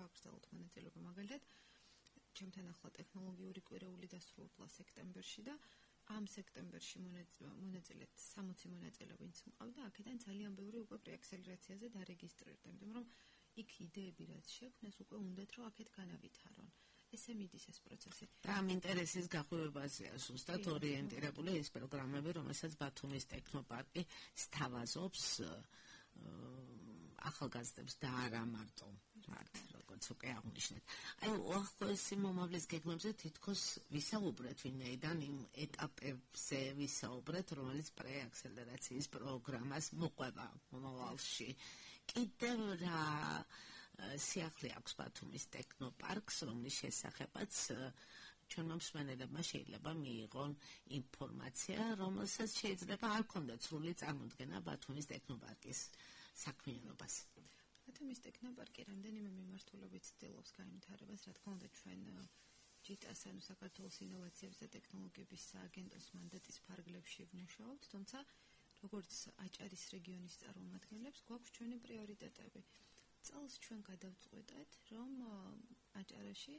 გააგრძელოთ მონაწილეობა მაგალითად ჩემთან ახლა ტექნოლოგიური კვირეული დასრულდა სექტემბერში და ამ სექტემბერში მონაწილედ 60 მონაწილე ვინც მყავდა, აქედან ძალიან ბევრი უკვე პრეაქსელერაციაზე დარეგისტრირდა, იმიტომ რომ იქ იდეები რაც შექმნეს უკვე უნდათ რომ აქეთ განავითარონ. ესე მიდის ეს პროცესი. და ამ ინტერესის გახვევებაზეა ზუსტად ორიენტირებული ეს პროგრამები, რომელსაც ბათუმის ტექნოპარკი სთავაზობს ახალგაზრდებს და არა მარტო მათ, როგორც უკვე აღნიშნეთ. აი, უახლოესი მომავლის გეგმებზე თითქოს ვისაუბრეთ ვინაიდან იმ ეტაპებზე ვისაუბრეთ, რომელიც პრეაქსელერაციის პროგრამას მოყვება მომავალში. კიდევ რა სიახლე აქვს ბათუმის ტექნოპარკს, რომლის შესახებაც ჩვენმა მსმენელებმა შეიძლება მიიღონ ინფორმაცია, რომელსაც შეიძლება არ ქონდეთ სრული წარმოდგენა ბათუმის ტექნოპარკის საქმიანობას. ბათუმის ტექნოპარკი რამდენიმე მიმართულებით ცდილობს განვითარებას, რა თქმა უნდა ჩვენ ჯიტას ანუ საქართველოს ინოვაციების და ტექნოლოგიების სააგენტოს მანდატის ფარგლებში ვმუშაობთ, თუმცა როგორც აჭარის რეგიონის წარმომადგენლებს გვაქვს ჩვენი პრიორიტეტები. წელს ჩვენ გადავწყვეტეთ, რომ აჭარაში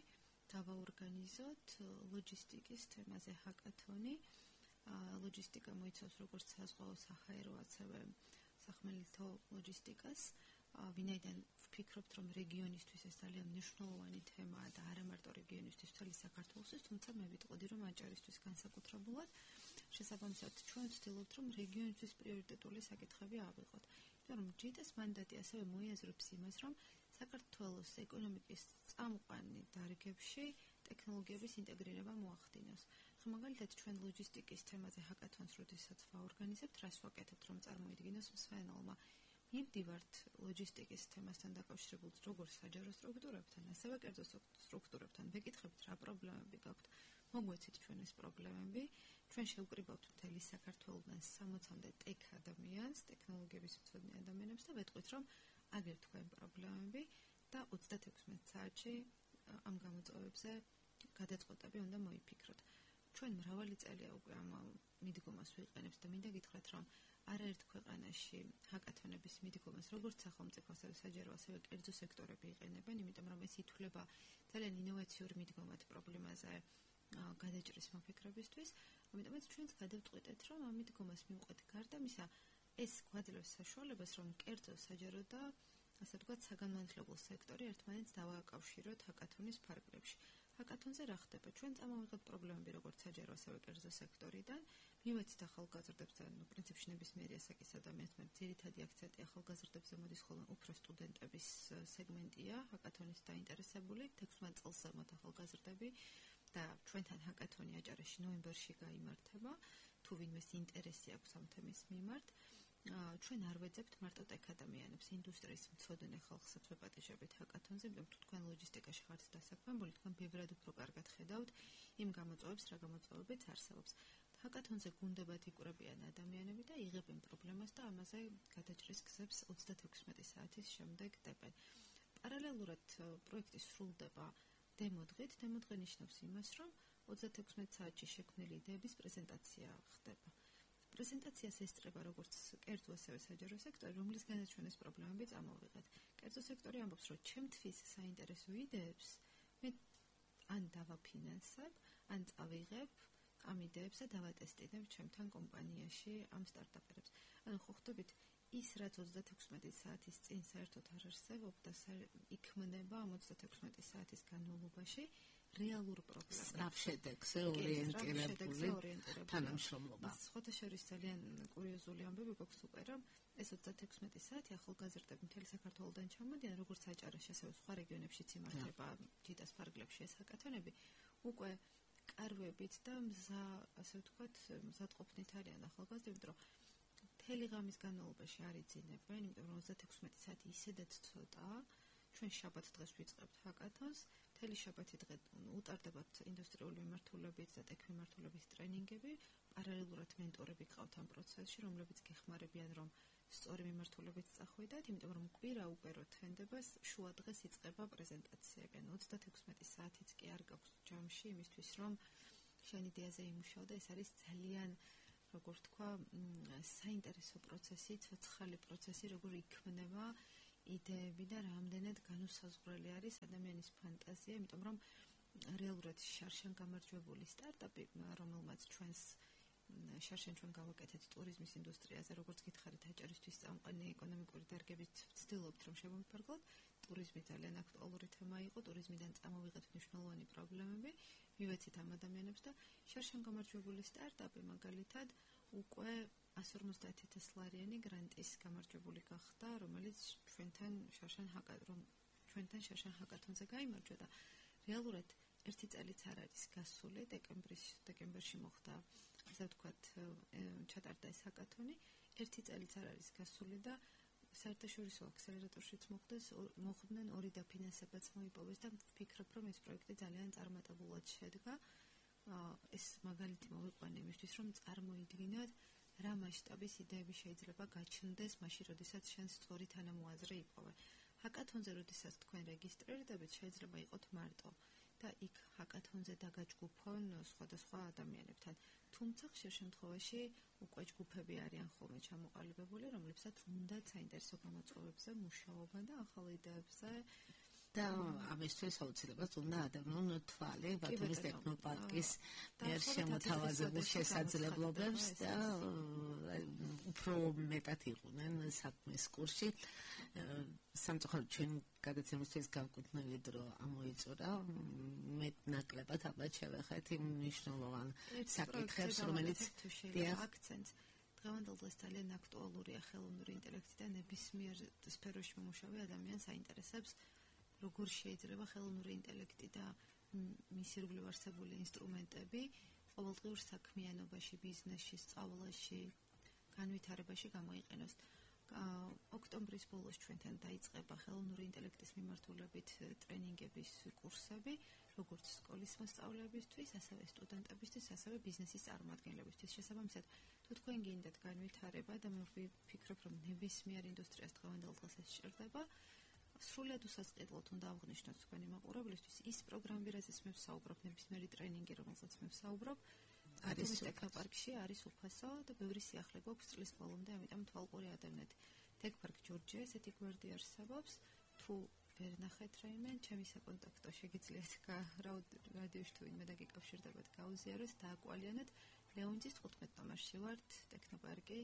დავაორგანიზოთ ლოჯისტიკის თემაზე ჰაკათონი. ლოჯისტიკა მოიცავს როგორც საზღვაო, საჰაერო, ასევე სახმელეთო ლოჯისტიკას. ვინაიდან ვფიქრობთ, რომ რეგიონისთვის ეს ძალიან მნიშვნელოვანი თემაა და არა მარტო რეგიონისთვის, მთელი საქართველოსთვის, თუმცა მე ვიტყოდი, რომ აჭარისთვის განსაკუთრებულად შესაბამისად ჩვენ ვცდილობთ, რომ რეგიონისთვის პრიორიტეტული საკითხები ავიღოთ. რომ ჯიტას მანდატი ასევე მოიაზრებს იმას, რომ საქართველოს ეკონომიკის წამყვანი დარგებში ტექნოლოგიების ინტეგრირება მოახდინოს. მაგალითად ჩვენ ლოჯისტიკის თემაზე ჰაკათონს როდესაც ვაორგანიზებთ, რას ვაკეთებთ, რომ წარმოიდგინოს მსმენელმა. მივდივართ ლოჯისტიკის თემასთან დაკავშირებულ როგორც საჯარო სტრუქტურებთან, ასევე კერძო სტრუქტურებთან. ვეკითხებთ რა პრობლემები გაქვთ. მოგვეცით ჩვენ ეს პრობლემები. ჩვენ შევკრიბავთ მთელი საქართველოდან 60-მდე ტექ ადამიანს, ტექნოლოგიების მცოდნე ადამიანებს და ვეტყვით, რომ აგერ თქვენ პრობლემები და 36 საათში ამ გამოწვევებზე გადაწყვეტები უნდა მოიფიქროთ. ჩვენ მრავალი წელია უკვე ამ მიდგომას ვიყენებთ და მინდა გითხრათ, რომ არაერთ ქვეყანაში ჰაკათონების მიდგომას როგორც სახელმწიფო, ასევე საჯარო, ასევე კერძო სექტორები იყენებენ, იმიტომ რომ ეს ითვლება ძალიან ინოვაციური მიდგომად პრობლემაზე გადაჭრის მოფიქრებისთვის. ამიტომაც ჩვენც გადავწყვეტეთ, რომ ამ მიდგომას მივყვეთ გარდა მისა, ეს გვაძლევს საშუალებას, რომ კერძო, საჯარო და ასე ვთქვათ, საგანმანათლებლო სექტორი ერთმანეთს დავააკავშიროთ ჰაკათონის ფარგლებში. ჰაკათონზე რა ხდება? ჩვენ წამოვიღეთ პრობლემები როგორც საჯარო, ასევე კერძო სექტორიდან, მივეცით ახალგაზრდებს და პრინციპში ნებისმიერი ასაკის ადამიანს, მაგრამ ძირითადი აქცენტი ახალგაზრდებზე მოდის, ხოლმე უფრო სტუდენტების სეგმენტია ჰაკათონის დაინტერესებული, 16 წელს ზემოთ ახალგაზრდები და ჩვენთან ჰაკათონი აჭარაში ნოემბერში გაიმართება, თუ ვინმეს ინტერესი აქვს ამ თემის მიმართ. ჩვენ არ ვეძებთ მარტო ტექ ადამიანებს, ინდუსტრიის მცოდნე ხალხსაც ვეპატიჟებით ჰაკათონზე, იმიტომ თუ თქვენ ლოჯისტიკაში ხართ დასაქმებული, თქვენ ბევრად უფრო კარგად ხედავთ იმ გამოწვევებს, რა გამოწვევებიც არსებობს. ჰაკათონზე გუნდებად იკვრებიან ადამიანები და იღებენ პრობლემას და ამაზე გადაჭრის გზებს 36 საათის შემდეგ დებენ. პარალელურად პროექტი სრულდება დემოდღით. დემოდღე ნიშნავს იმას, რომ 36 საათში შექმნილი იდეების პრეზენტაცია ხდება. პრეზენტაციას ესწრება როგორც კერძო, ასევე საჯარო სექტორი, რომლისგანაც ჩვენ ეს პრობლემები წამოვიღეთ. კერძო სექტორი ამბობს, რომ ჩემთვის საინტერესო იდეებს მე ან დავაფინანსებ, ან წავიღებ ამ იდეებს და დავატესტინებ ჩემთან კომპანიაში ამ სტარტაპერებს. ანუ ხო ხვდებით, ის რაც 36 საათის წინ საერთოდ არ არსებობდა, იქმნება ამ 36 საათის განმავლობაში რეალურ პრობლემას. სწრაფ შედეგზე ორიენტირებული თანამშრომლობა. სხვათა შორის ძალიან კურიოზული ამბები გვაქვს უკვე, რომ ეს 36 საათი ახალგაზრდები მთელი საქართველოდან ჩამოდიან, როგორც აჭარაში, ასევე სხვა რეგიონებშიც იმართება ჯიტას ფარგლებში ეს ჰაკათონები, უკვე კარვებით და ასე ვთქვათ, მზადყოფნით არიან ახალგაზრდები, რომ მთელი ღამის განმავლობაში არ იძინებენ, იმიტომ რომ 36 საათი ისედაც ცოტაა. ჩვენ შაბათ დღეს ვიწყებთ ჰაკათონს, მთელი შაბათი დღე უტარდებათ ინდუსტრიული მიმართულებით და ტექ მიმართულებით ტრენინგები, პარალელურად მენტორები გყავთ ამ პროცესში, რომლებიც გეხმარებიან, რომ სწორი მიმართულებით წახვიდეთ, იმიტომ რომ კვირა უკვე რო თენდება, შუა დღეს იწყება პრეზენტაციები. 36 საათიც კი არ გაქვს ჯამში იმისთვის, რომ შენ იდეაზე იმუშაო და ეს არის ძალიან როგორ თქვა, საინტერესო პროცესი, ცოცხალი პროცესი, როგორ იქმნება იდეები და რამდენად განუსაზღვრელი არის ადამიანის ფანტაზია, იმიტომ რომ რეალურად შარშან გამარჯვებული სტარტაპი, რომელმაც ჩვენს შარშან ჩვენ გავაკეთეთ ტურიზმის ინდუსტრიაზე, როგორც გითხარით, აჭარისთვის წამყვანი ეკონომიკური დარგებით ვცდილობთ, რომ შემოვიფარგლოთ. ტურიზმი ძალიან აქტუალური თემა იყო, ტურიზმიდან წამოვიღეთ მნიშვნელოვანი პრობლემები, მივეცით ამ ადამიანებს და შარშან გამარჯვებული სტარტაპი მაგალითად უკვე 150,000 ლარიანი გრანტის გამარჯვებული გახდა, რომელიც ჩვენთან შარშან ჰაკათონზე გაიმარჯვა და რეალურად ერთი წელიც არ არის გასული, დეკემბერში მოხდა, ასე ვთქვათ, ჩატარდა ეს ჰაკათონი, ერთი წელიც არ არის გასული და საერთაშორისო აქსელერატორშიც მოხდნენ 2 დაფინანსებაც მოიპოვეს და ვფიქრობ, რომ ეს პროექტი ძალიან წარმატებულად შედგა. ეს მაგალითი მოვიყვანე იმისთვის, რომ წარმოიდგინოთ, რა მასშტაბის იდეები შეიძლება გაჩნდეს მაშინ, როდესაც შენს სწორი თანამოაზრე იპოვე. ჰაკათონზე, როდესაც თქვენ რეგისტრირდებით, შეიძლება იყოთ მარტო და იქ ჰაკათონზე დაგაჯგუფონ სხვადასხვა ადამიანებთან. თუმცა ხშირ შემთხვევაში უკვე ჯგუფები არიან ხოლმე ჩამოყალიბებული, რომლებსაც უნდათ საინტერესო გამოწვევებზე მუშაობა და ახალ იდეებზე და ამისთვის აუცილებლად უნდა ადამიანო თვალი ბათუმის ტექნოპარკის მიერ შემოთავაზებულ შესაძლებლობებს და უფრო მეტად იყვნენ საქმის კურსში. სამწუხაროდ ჩვენ გადაცემისთვის გავკუთვნილი დრო ამოიწურა. მეტნაკლებად ალბათ შევეხეთ იმ მნიშვნელოვან საკითხებს, რომელიც აქცენტს დღევანდელ დღეს ძალიან აქტუალურია ხელოვნური ინტელექტი და ნებისმიერ სფეროში მომუშავე ადამიანს აინტერესებს როგორ შეიძლება ხელოვნური ინტელექტი და მის ირგვლივ არსებული ინსტრუმენტები ყოველდღიურ საქმიანობაში, ბიზნესში, სწავლაში, განვითარებაში გამოიყენოს. ოქტომბრის ბოლოს ჩვენთან დაიწყება ხელოვნური ინტელექტის მიმართულებით ტრენინგების კურსები, როგორც სკოლის მოსწავლეებისთვის, ასევე სტუდენტებისთვის, ასევე ბიზნესის წარმომადგენლებისთვის. შესაბამისად, თუ თქვენ გინდათ განვითარება და მე ვფიქრობ, რომ ნებისმიერ ინდუსტრიას დღევანდელ დღეს ეს სჭირდება, სრულად უსასყიდლოდ უნდა აღნიშნოთ თქვენი მაყურებლისთვის ის პროგრამები, რაზეც მე ვსაუბრობ, ნებისმიერი ტრენინგი, რომელსაც მე ვსაუბრობ, არის ტექნოპარკში, არის უფასო და ბევრი სიახლე გვაქვს წლის ბოლომდე, ამიტომ თვალყური ადევნეთ. ტექპარკ ჯორჯია, ესეთი გვერდი არსებობს. თუ ვერ ნახეთ რაიმე, ჩემი საკონტაქტო შეგიძლიათ რადიოში თუ ვინმე დაგიკავშირდებათ, გაუზიაროთ, დააკვალიანოთ. ლეონიძის 15 ნომერში ვართ, ტექნოპარკი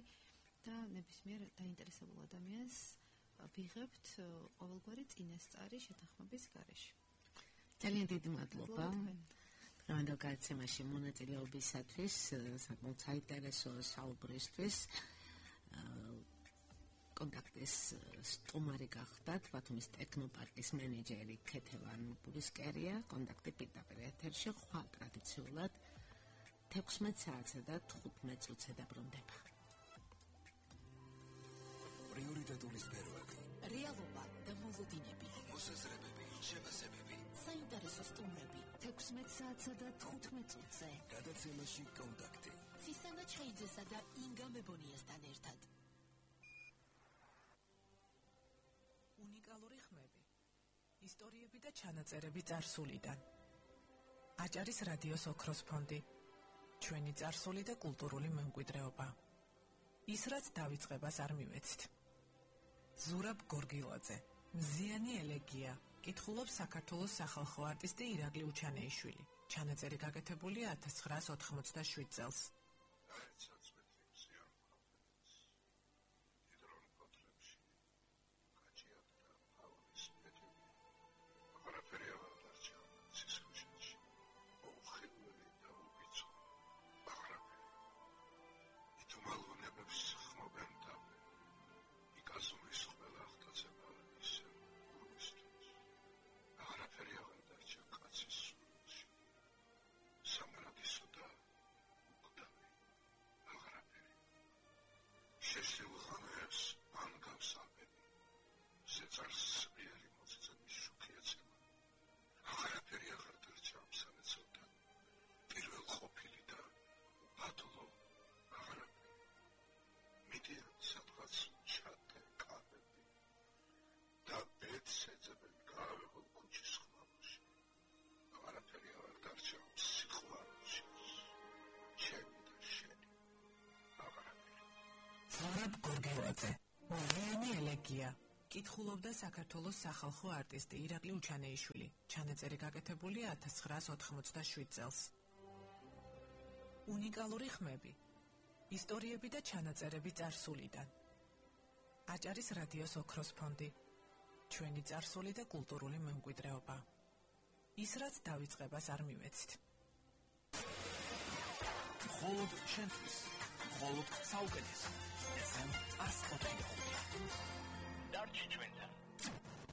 და ნებისმიერ დაინტერესებულ ადამიანს ვიღებთ ყოველგვარი წინასწარი შეთანხმების გარეშე. ძალიან დიდი მადლობა. დღევანდელ გადაცემაში მონაწილეობისათვის, საკმაოდ საინტერესო საუბრისთვის. კონტაქტის სტუმარი გახდათ ბათუმის ტექნოპარკის მენეჯერი ქეთევან ბურისკერია. კონტაქტი პირდაპირ ეთერში ხვალ ტრადიციულად 16 საათსა და 15 წუთზე დაბრუნდება. პრიორიტეტული სფეროები, რეალობა და მოლოდინები, მოსაზრებები, შეფასებები, საინტერესო სტუმრები 16 საათსა და 15 წუთზე. გადაცემაში კონტაქტი ცისანა ჩხეიძესა და ინგა მებონიასთან ერთად. უნიკალური ხმები, ისტორიები და ჩანაწერები წარსულიდან. აჭარის რადიოს ოქროს ფონდი, ჩვენი წარსული და კულტურული მემკვიდრეობა. ის რაც დავიწყებას არ მივეცით. ზურაბ გორგილაძე, მზიანი ელეგია, კითხულობს საქართველოს სახალხო არტისტი ირაკლი უჩანეიშვილი. ჩანაწერი გაკეთებულია 1987 წელს. სამარადისო და კითხულობდა საქართველოს სახალხო არტისტი ირაკლი უჩანეიშვილი. ჩანაწერი გაკეთებულია 1987 წელს. უნიკალური ხმები, ისტორიები და ჩანაწერები წარსულიდან. აჭარის რადიოს ოქროს ფონდი. ჩვენი წარსული და კულტურული მემკვიდრეობა. ის რაც დავიწყებას არ მივეცით. მხოლოდ შენთვის, მხოლოდ საუკეთესო. FM 104. დარჩი ჩვენთან.